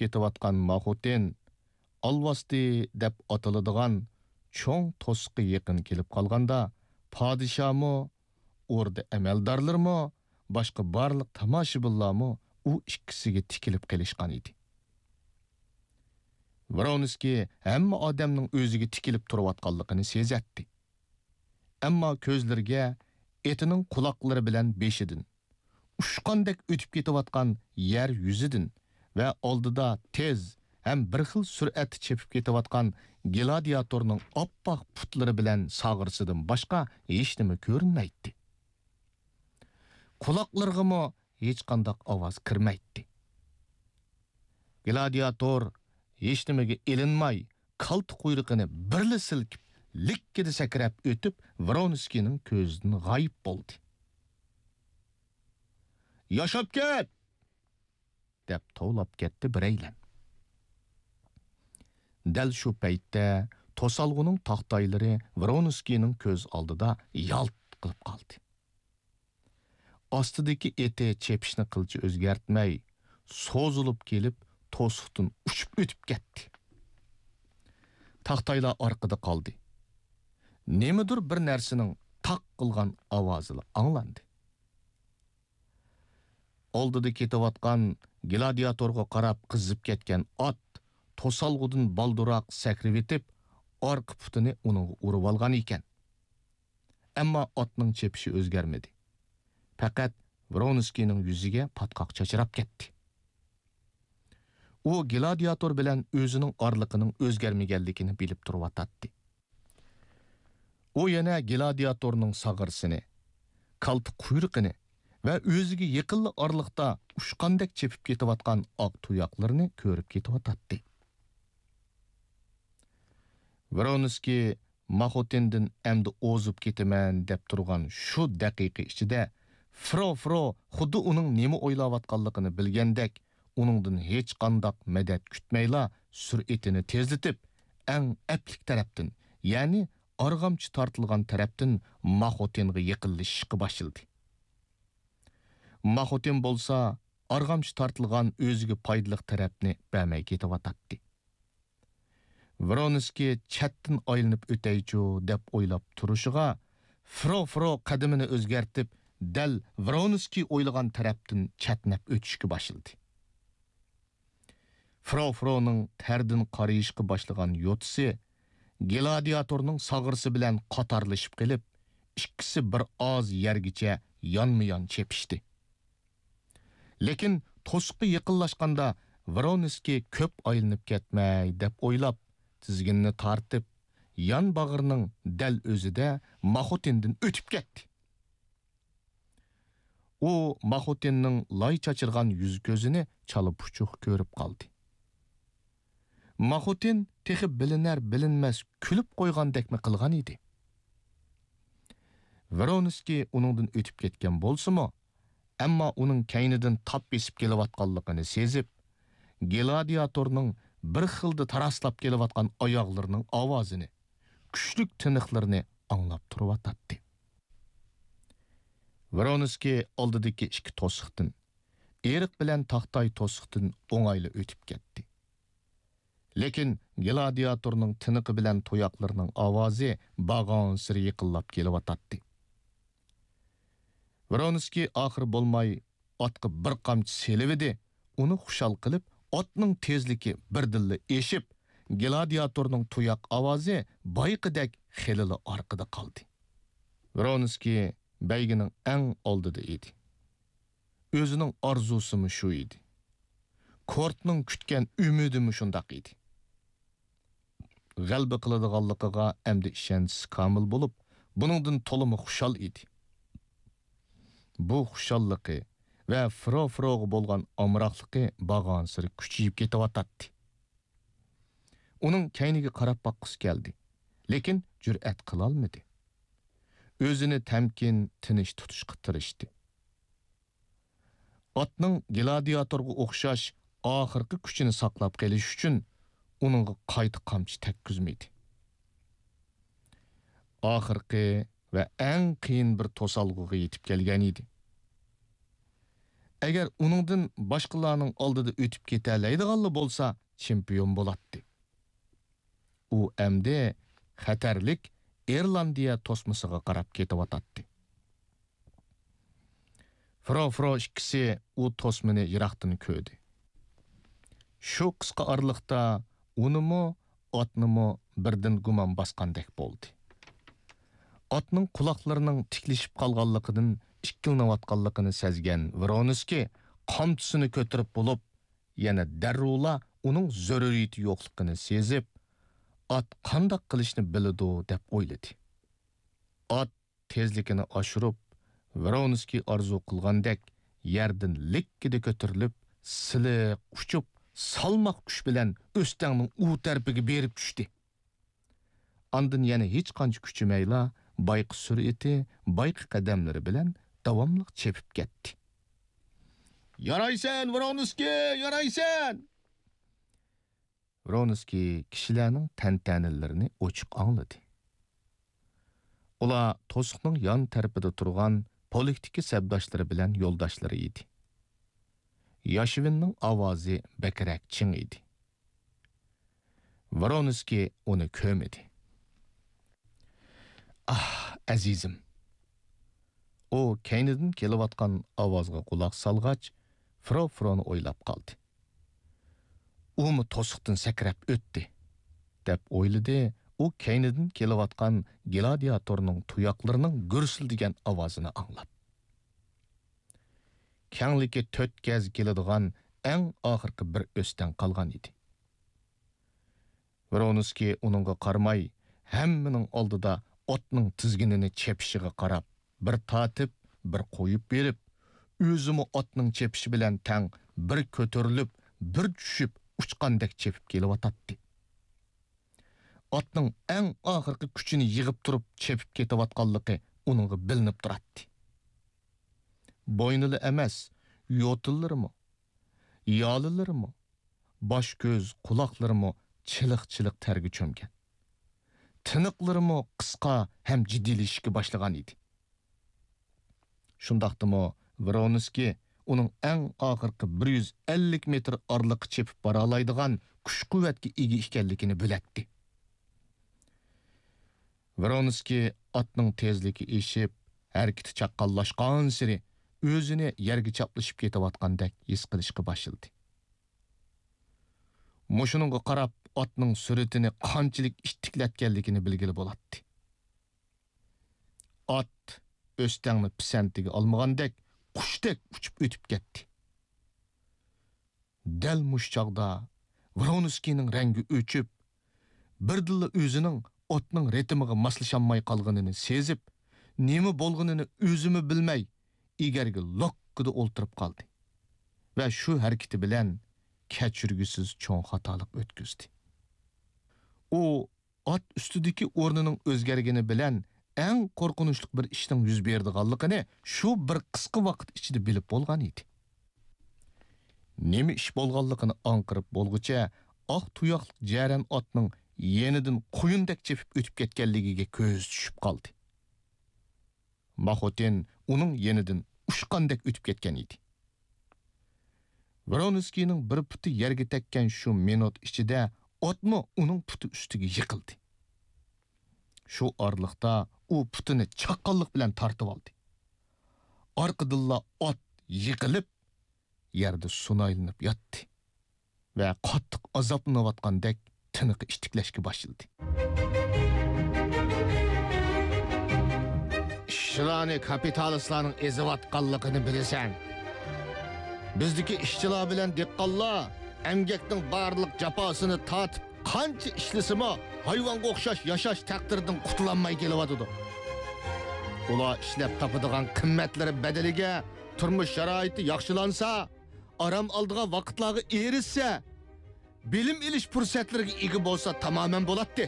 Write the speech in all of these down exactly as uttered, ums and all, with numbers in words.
كېتىۋاتقان ماخوتىن، ئالۋاستى دەپ ئاتىلىدىغان چوڭ توسۇققا يېقىن كېلىپ قالغاندا، پادىشاھمۇ، ئوردا ئەمەلدارلىرىمۇ، باشقا بارلىق تاماشىبىنلارمۇ ئۇ ئىككىسىگە تىكىلىپ قېلىشقان ئىدى. ۋرونسكىي ھەممە ئادەمنىڭ ئۆزىگە تىكىلىپ تۇرۇۋاتقانلىقىنى سېزەتتى. ئەمما كۆزلىرىگە ئېتىنىڭ قۇلاقلىرى بىلەن بېشىدىن، ئۇچقاندەك ئۆتۈپ كېتىۋاتقان يەر يۈزىدىن ۋە ئالدىدا تېز ھەم بىر خىل سۈرئەتتە چېپىپ كېتىۋاتقان گلادىياتورنىڭ ئاپئاق پۇتلىرى بىلەن ساغرىسىدىن باشقا ھېچنېمە كۆرۈنمەيتتى. قۇلاقلىرىغىمۇ ھېچقانداق ئاۋاز كىرمەيتتى. گلادىياتور ھېچنېمىگە ئېلىنماي، كالتا قۇيرۇقىنى بىرلا سىلكىپ، لىككىدە سەكرەپ ئۆتۈپ، ۋرونسكىينىڭ كۆزىدىن غايىب بولدى. «ياشاپ كەت!» دەپ توۋلاپ كەتتى بىرەيلەن. دەل شۇ پەيتتە توسالغۇنىڭ تاختايلىرى ۋرونسكىينىڭ كۆز ئالدىدا يالت قىلىپ قالدى. ئاستىدىكى ئېتى چېپىشنى قىلچە ئۆزگەرتمەي، سوزۇلۇپ كېلىپ، توسۇقتىن ئۇچۇپ ئۆتۈپ كەتتى. تاختايلار ئارقىدا قالدى. نېمىدۇر بىر نەرسىنىڭ تاق قىلغان ئاۋازىلا ئاڭلاندى. ئالدىدا كېتىۋاتقان گلادىياتورغا قاراپ قىزىپ كەتكەن ئات توسالغۇدىن بالدۇرراق سەكرىۋېتىپ، ئارقا پۇتىنى ئۇنىڭغا ئۇرۇۋالغان ئىكەن. ئەمما ئاتنىڭ چېپىشى ئۆزگەرمىدى. پەقەت ۋرونسكىينىڭ يۈزىگە پاتقاق چاچراپ كەتتى. ئۇ گلادىياتور بىلەن ئۆزىنىڭ ئارىلىقىنىڭ ئۆزگەرمىگەنلىكىنى بىلىپ تۇرۇۋاتاتتى. ئۇ يەنە گلادىياتورنىڭ ساغرىسىنى، كالتا قۇيرۇقىنى ۋە ئۆزىگە يېقىنلا ئارىلىقتا ئۇچقاندەك چېپىپ كېتىۋاتقان ئاق تۇياقلىرىنى كۆرۈپ كېتىۋاتاتتى. ۋرونسكىي ماخوتىندىن ئەمدى ئوزۇپ كېتىمەن دەپ تۇرغان شۇ دەقىقە ئىچىدە، فرو فرو خۇددى ئۇنىڭ نېمە ئويلاۋاتقانلىقىنى بىلگەندەك، ئۇنىڭدىن ھېچقانداق مەدەت كۈتمەيلا، سۈرئىتىنى تېزلىتىپ، ئەڭ ئەپلىك تەرەپتىن، يەنى ئارغامچا تارتىلغان تەرەپتىن ماخوتىنغا يېقىنلىشىشقا باشلىدى. ماخوتىن بولسا ئارغامچا تارتىلغان ئۆزىگە پايدىلىق تەرەپنى بەرمەي كېتىۋاتاتتى. ۋرونسكىي چەتتىن ئايلىنىپ ئۆتەيچۇ دەپ ئويلاپ تۇرۇشىغا، فرو فرو قەدىمىنى ئۆزگەرتىپ، دەل ۋرونسكىي ئويلىغان تەرەپتىن چەتنەپ ئۆتۈشكە باشلىدى. فرو فرونىڭ تەردىن قارىيىشقا باشلىغان يوتىسى گلادىياتورنىڭ ساغرىسى بىلەن قاتارلىشىپ قېلىپ، ئىككىسى بىر ئاز يەرگىچە يانمۇيان چېپىشتى. لېكىن توسۇققا يېقىنلاشقاندا ۋرونسكىي كۆپ ئايلىنىپ كەتمەي دەپ ئويلاپ، تىزگىنىنى تارتىپ، يان باغرىنىڭ دەل ئۆزىدە ماخوتىندىن ئۆتۈپ كەتتى. ئۇ ماخوتىننىڭ لاي چاچرىغان يۈز-كۆزىنى چالا پۇچۇق كۆرۈپ قالدى. ماخوتىن تېخى بىلىنەر-بىلىنمەس كۈلۈپ قويغاندەكمۇ قىلغان ئىدى. ۋرونسكىي ئۇنىڭدىن ئۆتۈپ كەتكەن بولسىمۇ، ئەمما ئۇنىڭ كەينىدىن تاپ بېسىپ كېلىۋاتقانلىقىنى سېزىپ، گلادىياتورنىڭ بىر خىلدا تاراسلاپ كېلىۋاتقان ئاياغلىرىنىڭ ئاۋازىنى، كۈچلۈك تىنىقلىرىنى ئاڭلاپ تۇرۇۋاتاتتى. ۋرونسكىي ئالدىدىكى ئىككى توسۇقتىن، ئېرىق بىلەن تاختاي توسۇقتىن ئوڭايلا ئۆتۈپ كەتتى. لېكىن گلادىياتورنىڭ تىنىقى بىلەن تۇياقلىرىنىڭ ئاۋازى بارغانسېرى يېقىنلاپ كېلىۋاتاتتى. ۋرونسكىي ئاخىرى بولماي ئاتقا بىر قامچا سېلىۋىدى، ئۇنى خۇشال قىلىپ، ئاتنىڭ تېزلىكى بىردىنلا ئېشىپ، گلادىياتورنىڭ تۇياق ئاۋازى بايىقىدەك خېلىلا ئارقىدا قالدى. ۋرونسكىي بەيگىنىڭ ئەڭ ئالدىدا ئىدى. ئۆزىنىڭ ئارزۇسىمۇ شۇ ئىدى. كورتنىڭ كۈتكەن ئۈمىدىمۇ شۇنداق ئىدى. غەلىبە قىلىدىغانلىقىغا ئەمدى ئىشەنچىسى كامىل بولۇپ، بۇنىڭدىن تولىمۇ خۇشال ئىدى. بۇ خۇشاللىقى ۋە فرو-فروغا بولغان ئامراقلىقى بارغانسېرى كۈچىيىپ كېتىۋاتاتتى. ئۇنىڭ كەينىگە قاراپ باققۇسى كەلدى، لېكىن جۈرئەت قىلالمىدى. ئۆزىنى تەمكىن، تىنچ تۇتۇشقا تىرىشتى. ئاتنىڭ گلادىياتورغا ئوخشاش ئاخىرقى كۈچىنى ساقلاپ قېلىش ئۈچۈن ئۇنىڭغا قايتا قامچا تەگكۈزمىدى. ئاخىرقى ۋە ئەڭ قىيىن بىر توسالغۇغا يېتىپ كەلگەن ئىدى. ئەگەر ئۇنىڭدىن باشقىلارنىڭ ئالدىدا ئۆتۈپ كېتەلەيدىغانلا بولسا، چېمپىيون بولاتتى. ئۇ ئەمدى خەتەرلىك ئىرلاندىيە توسمىسىغا قاراپ كېتىۋاتاتتى. فرو-فرو ئىككىسى ئۇ توسمىنى يىراقتىن كۆردى. شۇ قىسقا ئارىلىقتا ئۇنىمۇ، ئاتنىمۇ بىردىن گۇمان باسقاندەك بولدى. ئاتنىڭ قۇلاقلىرىنىڭ تىكلىشىپ قالغانلىقىدىن ئىككىلىنىۋاتقانلىقىنى سەزگەن ۋرونسكىي قامچىسىنى كۆتۈرۈپ بولۇپ، يەنە دەررۇلا ئۇنىڭ زۆرۈرىيىتى يوقلۇقىنى سېزىپ، ئات قانداق قىلىشنى بىلىدۇ دەپ ئويلىدى. ئات تېزلىكىنى ئاشۇرۇپ، ۋرونسكىي ئارزۇ قىلغاندەك يەردىن لىككىدە كۆتۈرۈلۈپ، سىلىق ئۇچۇپ، سالماق كۈچ بىلەن ئۆستەڭنىڭ ئۇ تەرىپىگە بېرىپ چۈشتى. ئاندىن يەنە ھېچقانچە كۈچىمەيلا، بايقى سۈرئىتى، بايقى قەدەملىرى بىلەن داۋاملىق چېپىپ كەتتى. يارايسەن، ۋرونسكىي، يارايسەن! ۋرونسكىي كىشىلەرنىڭ تەنتەنىلىرىنى ئوچۇق ئاڭلىدى. ئۇلار توسۇقنىڭ يان تەرىپىدە تۇرغان پولىتىكا سەپداشلىرى بىلەن يولداشلىرى ئىدى. ياشۋىننىڭ ئاۋازى بەكرەك چىڭ ئىدى. ۋرونسكىي ئۇنى كۆرمىدى. ئاھ، ئەزىزىم! ئۇ كەينىدىن كېلىۋاتقان ئاۋازغا قۇلاق سالغاچ، فرو-فرونى ئويلاپ قالدى. ئۇمۇ توسۇقتىن سەكرەپ ئۆتتى، دەپ ئويلىدى ئۇ كەينىدىن كېلىۋاتقان گلادىياتورنىڭ تۇياقلىرىنىڭ گۈرسۈلدىگەن ئاۋازىنى ئاڭلاپ. كەڭلىكى تۆت گەز كېلىدىغان ئەڭ ئاخىرقى بىر ئۆستەڭ قالغان ئىدى. ۋرونسكىي ئۇنىڭغا قارىماي، ھەممىنىڭ ئالدىدا ئاتنىڭ تىزگىنىنى چېپىشىغا قاراپ، بىر تارتىپ، بىر قويۇپ بېرىپ، ئۆزىمۇ ئاتنىڭ چېپىشى بىلەن تەڭ بىر كۆتۈرۈلۈپ، بىر چۈشۈپ، ئۇچقاندەك چېپىپ كېلىۋاتاتتى. ئاتنىڭ ئەڭ ئاخىرقى كۈچىنى يىغىپ تۇرۇپ چېپىپ كېتىۋاتقانلىقى ئۇنىڭغا بىلىنىپ تۇراتتى. بوينىلا ئەمەس، يوتىلىرىمۇ، يالىلىرىمۇ، باش-كۆز، قۇلاقلىرىمۇ چىلىق-چىلىق تەرگە چۆمگەن. تىنىقلىرىمۇ قىسقا ھەم جىددىيلىشىشكە باشلىغان ئىدى. شۇنداقتىمۇ ۋرونسكىي ئۇنىڭ ئەڭ ئاخىرقى بىر يۈز ئەللىك مېتىر ئارىلىققا چېپىپ بارالايدىغان كۈچ-قۇۋۋەتكە ئىگە ئىكەنلىكىنى بىلەتتى. ۋرونسكىي ئاتنىڭ تېزلىكى ئېشىپ، ھەرىكىتى چاققانلاشقانسېرى ئۆزىنى يەرگە چاپلىشىپ كېتىۋاتقاندەك ھېس قىلىشقا باشلىدى. مۇشۇنىڭغا قاراپ ئاتنىڭ سۈرئىتىنى قانچىلىك ئىتتىكلەتكەنلىكىنى بىلگىلى بولاتتى. ئات ئۆستەڭنى پىسەنتىگە ئالمىغاندەك، قۇشتەك ئۇچۇپ ئۆتۈپ كەتتى. دەل مۇشۇ چاغدا ۋرونسكىينىڭ رەڭگى ئۆچۈپ، بىردىنلا ئۆزىنىڭ ئاتنىڭ رىتىمىغا ماسلىشالماي قالغىنىنى سېزىپ، نېمە بولغىنىنى ئۆزىمۇ بىلمەي، ئېگەرگە لوككىدا ئولتۇرۇپ قالدى ۋە شۇ ھەرىكىتى بىلەن كەچۈرگۈسىز چوڭ خاتالىق ئۆتكۈزدى. ئۇ ئات ئۈستىدىكى ئورنىنىڭ ئۆزگەرگىنى بىلەن ئەڭ قورقۇنچلۇق بىر ئىشنىڭ يۈز بېرىدىغانلىقىنى شۇ بىر قىسقا ۋاقىت ئىچىدە بىلىپ بولغان ئىدى. نېمە ئىش بولغانلىقىنى ئاڭقىرىپ بولغۇچە، ئاق تۇياقلىق جەرەن ئاتنىڭ يېنىدىن قۇيۇندەك چېپىپ ئۆتۈپ كەتكەنلىكىگە كۆزى چۈشۈپ قالدى. ماخوتىن ئۇنىڭ يېنىدىن ئۇچقاندەك ئۆتۈپ كەتكەن ئىدى. ۋرونسكىينىڭ بىر پۇتى يەرگە تەگكەن شۇ مىنۇت ئىچىدە ئاتمۇ ئۇنىڭ پۇتى ئۈستىگە يىقىلدى. شۇ ئارىلىقتا ئۇ پۇتىنى چاققانلىق بىلەن تارتىۋالدى. ئارقىدىنلا ئات يىقىلىپ، يەردە سۇنايلىنىپ ياتتى ۋە قاتتىق ئازابلىنىۋاتقاندەك تىنىقى ئىتتىكلەشكە باشلىدى. ئىشچىلارنى كاپىتالىستلارنىڭ ئېزىۋاتقانلىقىنى بىلىسەن. بىزدىكى ئىشچىلار بىلەن دېھقانلار ئەمگەكنىڭ بارلىق جاپاسىنى تارتىپ، قانچە ئىشلىسىمۇ، ھايۋانغا ئوخشاش ياشاش تەقدىرىدىن قۇتۇلالماي كېلىۋاتىدۇ. ئۇلار ئىشلەپ تاپىدىغان قىممەتلىرى بەدىلىگە تۇرمۇش شارائىتى ياخشىلانسا، ئارام ئالىدىغان ۋاقىتلارغا ئېرىشسە، بىلىم ئېلىش پۇرسەتلىرىگە ئىگە بولسا تامامەن بولاتتى.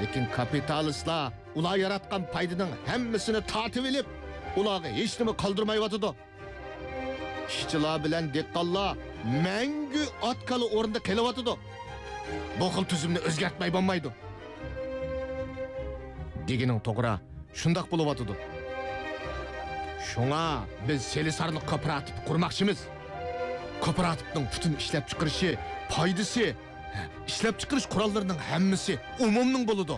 لېكىن كاپىتالىستلار ئۇلار ياراتقان پايدىنىڭ ھەممىسىنى تارتىۋېلىپ، ئۇلارغا ھېچنېمە قالدۇرمايۋاتىدۇ. ئىشچىلار بىلەن دېھقانلار مەڭگۈ ئات-كالا ئورنىدا قېلىۋاتىدۇ. بۇ خىل تۈزۈمنى ئۆزگەرتمەي بولمايدۇ. دېگىنىڭ توغرا، شۇنداق بولۇۋاتىدۇ. شۇڭا بىز سېلىسارلىق كوپىراتىپ قۇرماقچىمىز. كوپىراتىپنىڭ پۈتۈن ئىشلەپچىقىرىشى، پايدىسى، ئىشلەپچىقىرىش قوراللىرىنىڭ ھەممىسى ئومۇمنىڭ بولىدۇ.